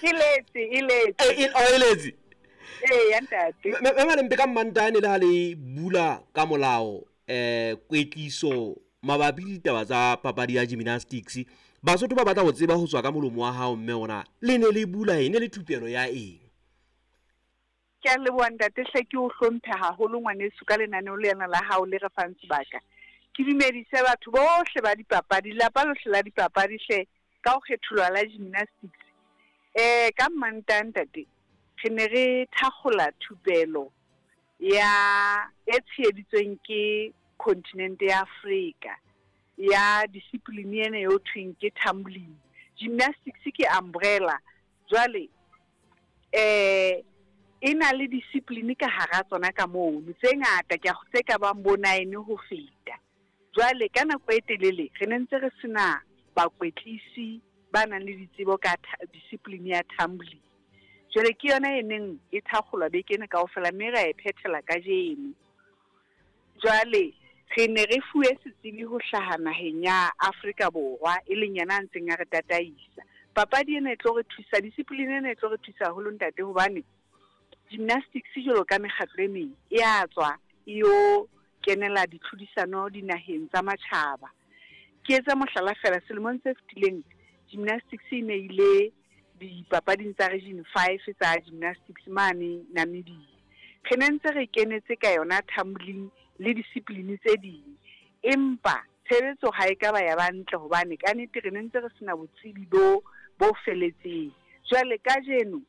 E letse, e letse. E letse. Ee, ntate. Mme Malempe, ka Mmantane le ha le bula ka molao kwetliso mabapi le ditaba tsa papadi ya gymnastics, Basotho ba batla ho tseba ho tswa ka molomo wa hao mme ona le ne le bula eng, ne le thupelo ya eng? Ke a leboha ntate hle, ke o hlomphe haholo ngwaneso ka lenaneo lena la hao le re fang sebaka. Ke dumedise batho bohle ba dipapadi, lelapa lohle la dipapadi hle, ka ho kgetholwa la gymnastics. Ka Mmantaha ntate, re ne re thakgola thupelo ya e tsheheditsweng ke continent ya Afrika ya discipline ena eo thweng ke tumbling. Gymnastics ke umbrella. Jwale e na le discipline ka hara tsona ka mono tse ngata, ke tse ka bang bo 9 ho feta. Jwale ka nako e telele re ne ntse re sena bakwetlisi ba nang le ditsebo ka discipline ya tumbling. Jwale ke yona e neng e thakgolwa beke ena kaofela, mme ra e phethela kajeno. Jwale re ne re fuwe setsebi ho hlaha naheng ya Afrika Borwa, e leng yena a ntseng a re tataisa. Papadi ena e tlo re thusa, discipline ena e tlo re thusa haholo ntate, hobane gymnastics jwalo ka mekgatlo e meng e a tswa e yo kenela ditlhodisano dinaheng tsa matjhaba. Ke etsa mohlala fela, selemong se fetileng gymnastics e ne ile dipapading tsa region 5 tsa gymnastics mane Namibia. Re ne ntse re kenetse ka yona tumbling le discipline tse ding, empa tshebetso ha e ka ba ya ba ntle hobane ka nnete re ne ntse re sena botsebi bo feletseng. Jwale kajeno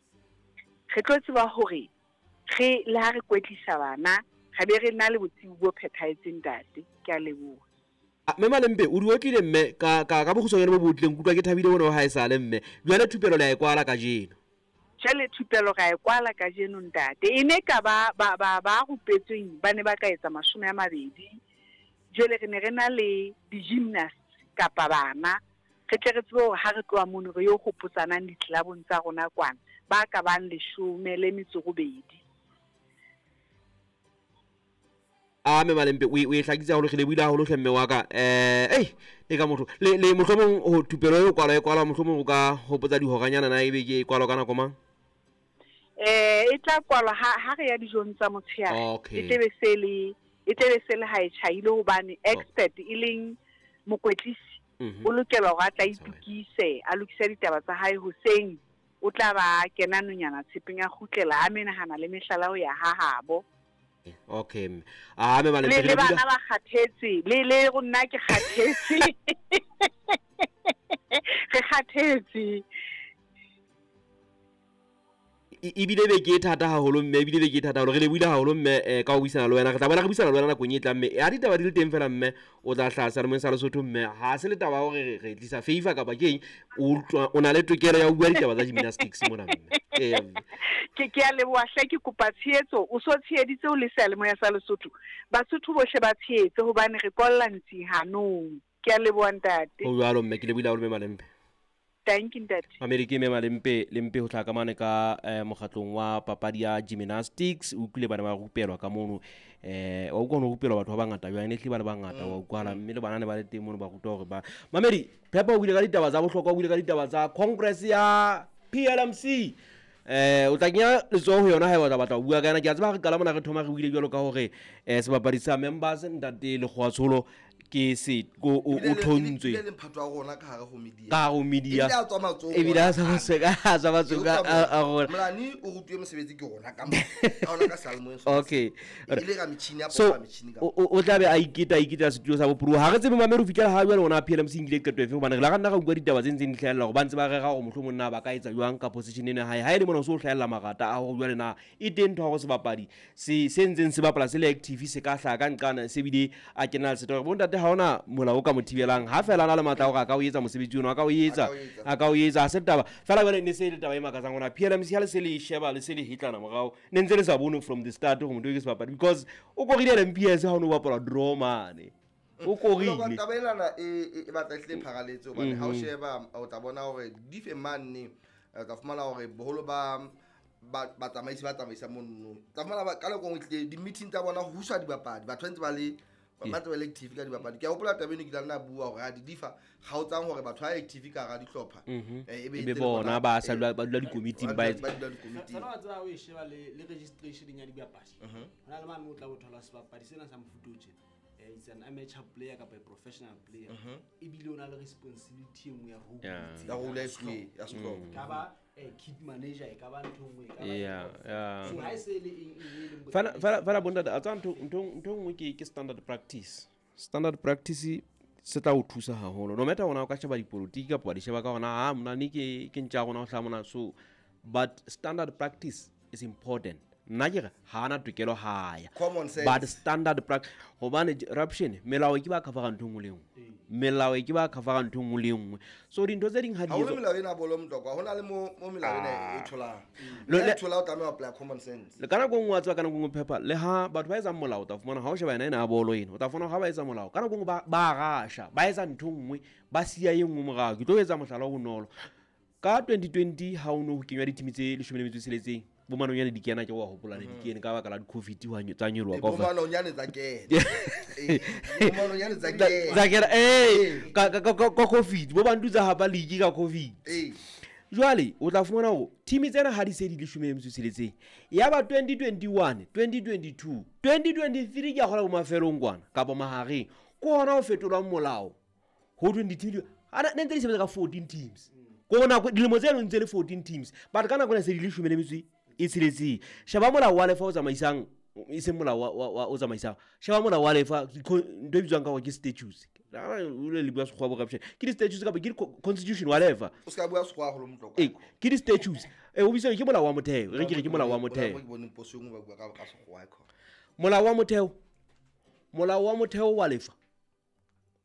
re tlo tseba hore re le ha re kwetlisa bana re be re na le botsebi bo phethahetseng ntate. Ke a leboha. Mme Malempe, o di otlile mme ka bokgutshwanyane bo botleng, kutlwa ke thabile bona ha e sale mme. Jwale thupelo le a e kwala kajeno. Jwale thupelo ra e kwala kajeno ntate. E ne ka ba ba rupetsweng ba ne ba ka etsa 20. Jwale re ne re na le di-gymnasts kapa bana, re tle re tsebe hore ha re tloha mono re yo hopotsanang ditlelabong tsa rona kwana, ba ka bang 18. A mme Malempe, o e hlakisa haholo, re lebohile haholo hle mme wa ka. Le ka motho le mohlomong ho thupelo e kwalwa e kwalwa, mohlomong o ka hopotsa dihoranyana na ebe ke e kwalwa ka nako mang? E tla kwalwa ha re ya dijong tsa motshehare. Okay. E tlebe se le ha e tjhaile, hobane expert e leng mokwetlisi o lokela hore a tla itukise, a lokise ditaba tsa hae hoseng, o tla ba kena nonyana tshepeng a kgutlela a menahana le mehlala ho ya ha habo. Okay. A me Malempe, le bana ba kgathetse, le rona ke kgathetse. Re kgathetse. Ebile be ke thata haholo mme, ebile be ke thata haholo. Re lebohile haholo mme ka ho buisana le wena. Re tla bona re buisana le wena nakong e tlang mme. Ha ditaba di le teng fela mme, o tla hlaha seyalemoyeng sa Lesotho mme. Ha se le taba hore re tlisa favor kapa ke eng, o na le tokelo ya ho bua ditaba tsa gymnastics mona mme. Ke a leboha hle, ke kopa tshehetso. O so tsheheditse o le seyalemoya sa Lesotho. Basotho bohle ba tshehetse hobane re kolla ntsi hanong. Ke a leboha ntate. Ho jwalo mme, ke lebohile haholo mme Malempe. Thank you ntate. Mamedi ke mme Malempe, Lempe ho tlaka mane ka mokgatlong wa papadi ya gymnastics. O utlwile bana ba rupelwa ka mono. Wa utlwa ho rupelwa batho ba bangata jwang, ne hlile ba le bangata wa utlwala, mme le bana ne ba le teng mono ba rutwa hore ba. Mamedi, Phepo o buile ka ditaba tsa bohlokwa, o buile ka ditaba tsa Congress ya PLMC. O tla kenya letsoho ho yona haeba o tla batla ho bua ka yona. Ke a tseba ha re qala mona re thoma re buile jwalo ka hore sebapadi sa members ntate Lekgowa Tsholo ke se o thontswe. Ebile le mphato wa rona ka hare ho media. Ka hare ho media. Ebile a tswa matsohong. Ebile a tswa matsohong, a tswa matsohong a rona. Molani o rutuwe mosebetsi ke rona ka mo. Ka rona ka seyalemoyeng sona. Okay. E le ra metjhini ya So, popa metjhini ka o tla be a iketa setulo sa bopuruwa. Ha re tsebe mamedi ho fihlela ha jwale ona PLMC nkile qeto efe, hobane re la nna ra utlwa ditaba tse ntseng di hlahella hore ba ntse ba rera hore mohlomong na ba ka etsa jwang ka position ena hae. Ha e le mona o so hlahella marata a hore jwale na e teng ntho ya hore sebapadi se ntseng se bapala se le active se ka hlaha ka nqana se bile a kena le setho. Bontate ha hona molao o ka mo thibelang, ha fela a na le matla a hore a ka o etsa mosebetsi ono, a ka o etsa, a ka o etsa, ha se taba. Fela jwale ne se le taba e makatsang hona PLMC ha le se le sheba le se le hitlana morao, ne ntse le sa bone from the start hore motho ke sebapadi, because o korile le MPS ha o no bapala draw mane. O korile. Taba ena e batla e hlile pharaletse hobane ha o sheba o tla bona hore dife mane, o tla fumana hore boholo ba batsamaisi ba tsamaisa mono. Tla fumana ka nako e nngwe tlile di-meeting tsa bona ho huswa dibapadi, batho ba ntse ba le Ba tla ba le active ka dibapadi. Ke a hopola taba eno ke tla nna bua hore ha di difa kgaotsang hore batho ha active ka hara dihlopha. E be bona ba sa dula ba dula dikomiting ba dula dikomiting. Fela wa tseba o e sheba le registration ya dibapadi. Hona le mane o tla bo thola sebapadi sena sa mofuta o tjena. It's an amateur player kapa a professional player. Ebile o na le responsibility e nngwe ya role. Ya role ya sehlopha. Ka ba kit manager e ka ba ntho nngwe e ka ba. So ha e se le eng e leng fela bontate a tswa ntho nngwe ke standard practice. Standard practice se tla o thusa haholo. No matter ona o ka sheba dipolotiki kapa di sheba ka hona ha mona ne ke ntja rona ho hla mona, so but standard practice is important. Nna ke re ha ana tokelo ha ya. But standard practice hobane corruption melao ke ba cover ntho nngwe le nngwe. Melao ke ba cover ntho nngwe le nngwe. So dintho tse ding ha di etswa. Ha ho melao ena bolo Motlokwa, hona le mo melao ena e tholang. Le thola o tlameha ho apply common sense. Le kana go nngwe wa tswa kana go nngwe paper le ha batho ba etsang molao o tla fumana ha o sheba ena ena bolo ena o tla fumana ha ba etsa molao kana go nngwe ba rasha ba etsa ntho nngwe ba siya e nngwe morao. Ke tlo etsa mohlala o bonolo. Ka 2020 ha o no ho kenywa dithimi tse 16 bo manonyane di kena ke wa hopola ne di kene ka baka la di-covid tsa nyoloha kaofela. Bo manonyane tsa kena. Bo manonyane tsa kena. Tsa kena ka covid bo bantu tsa hapa league ka covid. Jwale o tla fumana hore team tsena ha di se di 16 ya ba 2021 2022 2023 ke a kgola bo mafelong kwana kapa mahareng ke hona ho fetolwang molao ho thweng di-team ana ne ntse di sebetsa ka 14 teams ko nako dilemo tse ntse le 14 teams but ka nako ena se di 16 e tsheletseng. Sheba molao wa lefa o tsamaisang e seng molao wa o tsamaisang. Sheba molao wa lefa ntho e bitswang ka hore ke statutes. O le bua sekgowa bo corruption. Ke di-statutes kapa ke constitution wa lefa. O ska bua sekgowa haholo Motlokwa. Ke di-statutes. O bitswa ke molao wa motheo. Re ke re ke molao wa motheo. Molao wa motheo. Molao wa motheo wa lefa.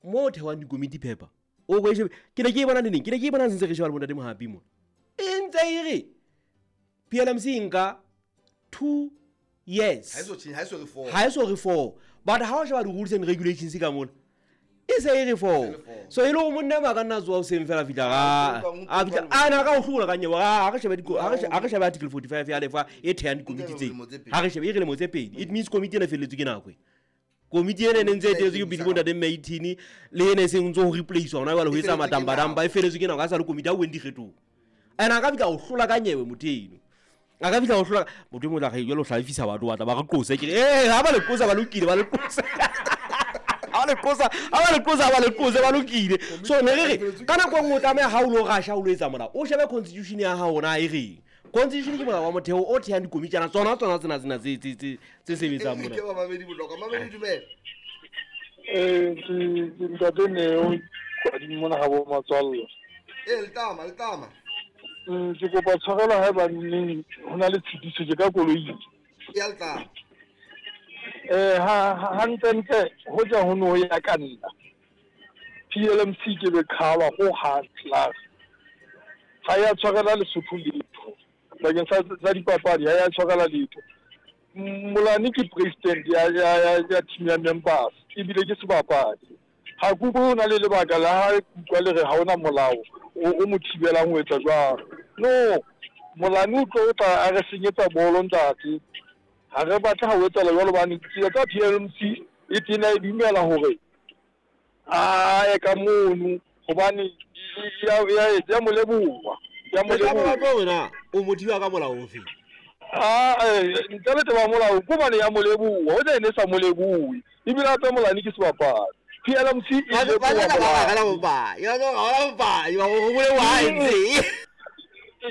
Mo o thewang dikomiti paper. O go e shebe ke ne ke e bona neneng? Ke ne ke e bona sentse re sheba le bontate Mohapi mona. E ntse e re PLMC nka 2 years. Ha e so re 4. But ha o sheba di-rules and regulations ka mona e se e re 4. So e le ho monna ba ka nna tsoa hoseng fela fihla a fihla a na ka o hlola ka nyewe. Ha re shebe ha re shebe article 45 ya lefa e thehang dikomiti tse. Ha re shebe e re lemo tse pedi. It means komiti ena felletswe ke nako e. Komiti ena ne ntse e tetswe ke pele bontate Maitini le ene e seng ntse ho replace hona jwale ho etsa matambadamba e felletswe ke nako a sa le komiti ha o weng dikgethong. Ena a ka fihla o hlola ka nyewe motho eno. A ka fihla o hlola motho e mong tla re jwale o hlalefisa batho ba tla ba re qose ke re ha ba le qosa ba lokile ba le qosa. Ha le qosa ha ba le qosa ba le qosa ba lokile. So ne re re ka nako e nngwe o tlameha ha o lo rasha o lo etsa molao o shebe constitution ya hao na e reng. Constitution ke molao wa motheo o thehang dikomitjana tsona tsena tse sebetsang mona. Ke ba mamedi Motlokwa. Mamedi dumela. Ke ntate Neo kwa mona ha bo matswalla. Letama. Ke kopa tshwarelo haeba neng ho na le tshitiso ke ka koloi. Ya letama. Ha ntle ho ja ho no ya ka nna. PLMC ke be khawa ho hang class. Ha ya tshwarela Lesotho letho. Bakeng sa dipapadi ha ya tshwarela letho. Molane ke president ya team ya members ebile ke sebapadi. Ha ke utlwe ho na le lebaka la ha utlwa le re ha hona molao o mo thibelang ho etsa jwalo. No, Molane o tlo tla a re senyetsa bolo ntate. Ha re batle ha o etsahala jwalo hobane tsela tsa PLMC e tena e dumela hore a ye ka mono hobane ya mo leboha. Ya mo leboha. O mo thiba ka molao ofe? Ntle le taba molao ko bane ya mo leboha. O ne sa mo lebohe. Ebile hape Molane ke sebapadi. PLMC e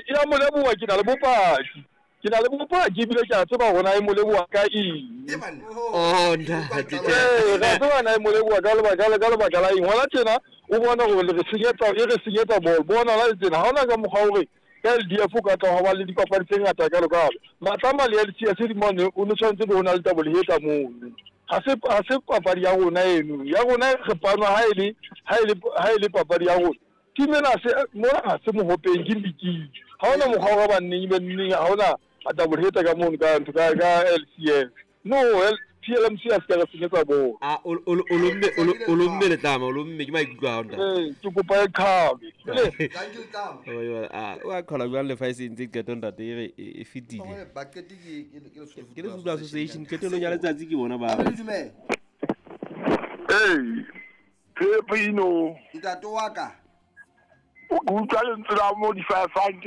ya mo leboha ke na le bopaki. Ke na le bopaki ebile ke a tseba hore na e mo leboha ka eng. Oh ntate. Re tseba na e mo leboha ka lebaka la eng. Hona tjena o bona hore re senyetsa bolo. Bona la tjena ha hona ka mokgwa hore ka LDF o ka tla ho ba le dipapadi tse ngata jwalo kalo. Matlama le LCS di mane o ne tshwanetse be ho na le tabo le hetla mono. Ha se papadi ya rona eno. Ya rona re panwa ha e le papadi ya rona. Team ena se mona ha se mohopeng ke league. Ha hona mokgwa wa ba nneng be nneng ha hona a double header ka mono ka ntho ka LCS. No, PLMC a se ka re senyetsa bolo. O lomme letlama, o lomme ke maikutlo a hao ntate. Ke kopa e qhabe. Thank you letlama. O a qhala jwang lefa e se ntse qeto ntate e re e fetile. Ba qete ke Lesotho Association qetellong ya letsatsi ke bona ba. Dumela. Ee, Phepino. Ntate wa ka. O ke utlwa lentswe la mo di-fifang ke